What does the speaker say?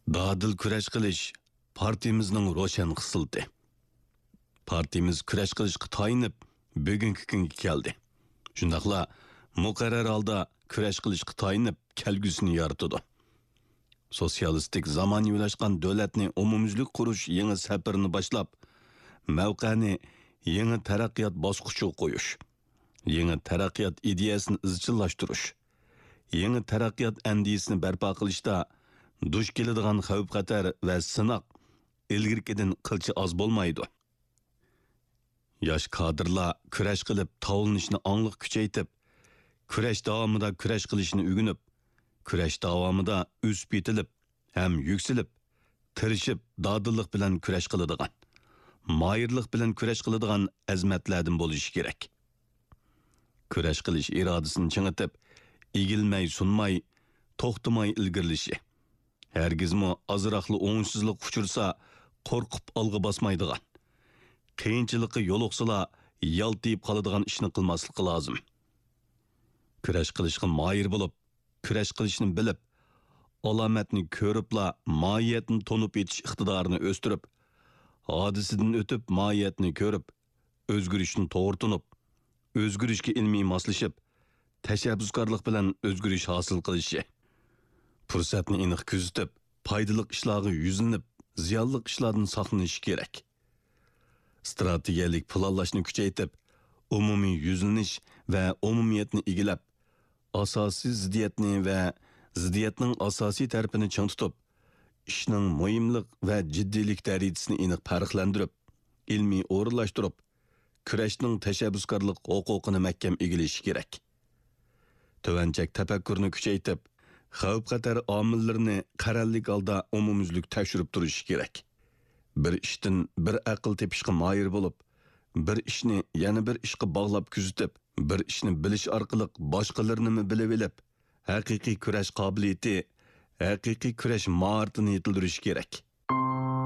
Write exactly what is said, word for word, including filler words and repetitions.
دادىل كۈرەش قىلىش پارتىيىمىزنىڭ روشەن خىسلىتى. پارتىيىمىز كۈرەش قىلىشقا تايىنىپ، بۈگۈنكى كۈنگە كەلدى. شۇنداقلا مۇقەررەر ھالدا كۈرەش قىلىشقا تايىنىپ، كەلگۈسىنى يارىتىدۇ. سوتسىيالىستىك زامانىۋىلاشقان دۆلەتنى ئومۇميۈزلۈك قۇرۇش يېڭى سەپىرىنى باشلاپ، مەۋقەنى يېڭى تەرەققىيات باسقۇچىغا قويۇش، يېڭى تەرەققىيات ئىدىيەسىنى ئىزچىللاشتۇرۇش، يېڭى تەرەققىيات ئەندىزىسىنى بەرپا قىلىشتا دۇچ كېلىدىغان خەۋپ-خەتەر ۋە سىناق ئىلگىرىكىدىن قىلچە ئاز بولمايدۇ. ياش كادىرلار كۈرەش قىلىپ تاۋلىنىشنى ئاڭلىق كۈچەيتىپ، كۈرەش داۋامىدا كۈرەش قىلىشنى ئۆگىنىپ، كۈرەش داۋامىدا ئۆسۈپ يېتىلىپ ھەم يۈكسىلىپ، تىرىشىپ، دادىللىق بىلەن كۈرەش قىلىدىغان، ماھىرلىق بىلەن كۈرەش قىلىدىغان ئەزىمەتلەردىن بولۇشى كېرەك. كۈرەش قىلىش ئىرادىسىنى چىڭىتىپ، ئېگىلمەي، سۇنماي، توختىماي ئىلگىرىلىشى، ھەرگىزمۇ ئازراقلا ئوڭۇشسىزلىققا ئۇچرىسا، قورقۇپ ئالغا باسمايدىغان، قىيىنچىلىققا يولۇقسىلا، يالتىيىپ قالىدىغان ئىشنى قىلماسلىقى لازىم. كۈرەش قىلىشقا ماھىر بولۇپ، كۈرەش قىلىشنى بىلىپ، ئالامەتنى كۆرۈپلا ماھىيەتنى تونۇپ يېتىش ئىقتىدارىنى ئۆستۈرۈپ، ھادىسىدىن ئۆتۈپ ماھىيەتنى كۆرۈپ، ئۆزگىرىشنى توغرا تونۇپ، ئۆزگىرىشكە ئىلمىي ماسلىشىپ، تەشەببۇسكارلىق بىلەن ئۆزگىرىش ھاسىل قىلىشى، پۇرسەتنى ئېنىق كۆزىتىپ، پايدىلىق ئىشلارغا يۈزلىنىپ، زىيانلىق ئىشلاردىن ساقلىنىشى كېرەك. ئىستراتېگىيەلىك پىلانلاشنى كۈچەيتىپ، ئومۇمىي يۈزلىنىش ۋە ئومۇمىيەتنى ئىگىلەپ، ئاساسىي زىددىيەتنى ۋە زىددىيەتنىڭ ئاساسىي تەرىپىنى چىڭ تۇتۇپ، ئىشنىڭ مۇھىملىق ۋە جىددىيلىك دەرىجىسىنى ئېنىق پەرقلەندۈرۈپ، ئىلمىي ئورۇنلاشتۇرۇپ، كۈرەشنىڭ تەشەببۇسكارلىق ھوقۇقىنى مەھكەم ئىگىلىشى كېرەك. تۆۋەنچەك تەپەككۇرنى كۈچەيتىپ، خەۋپ-خەتەر ئامىللىرىنى قەرەللىك ھالدا ئومۇميۈزلۈك تەكشۈرۈپ تۇرۇشى كېرەك. بىر ئىشتىن بىر ئەقىل تېپىشقا ماھىر بولۇپ، بىر ئىشنى يەنە بىر ئىشقا باغلاپ كۆزىتىپ، بىر ئىشنى بىلىش ئارقىلىق باشقىلىرىنىمۇ بىلىۋېلىپ، ھەقىقىي كۈرەش قابىلىيىتى، ھەقىقىي كۈرەش ماھارىتىنى يېتىلدۈرۈشى كېرەك.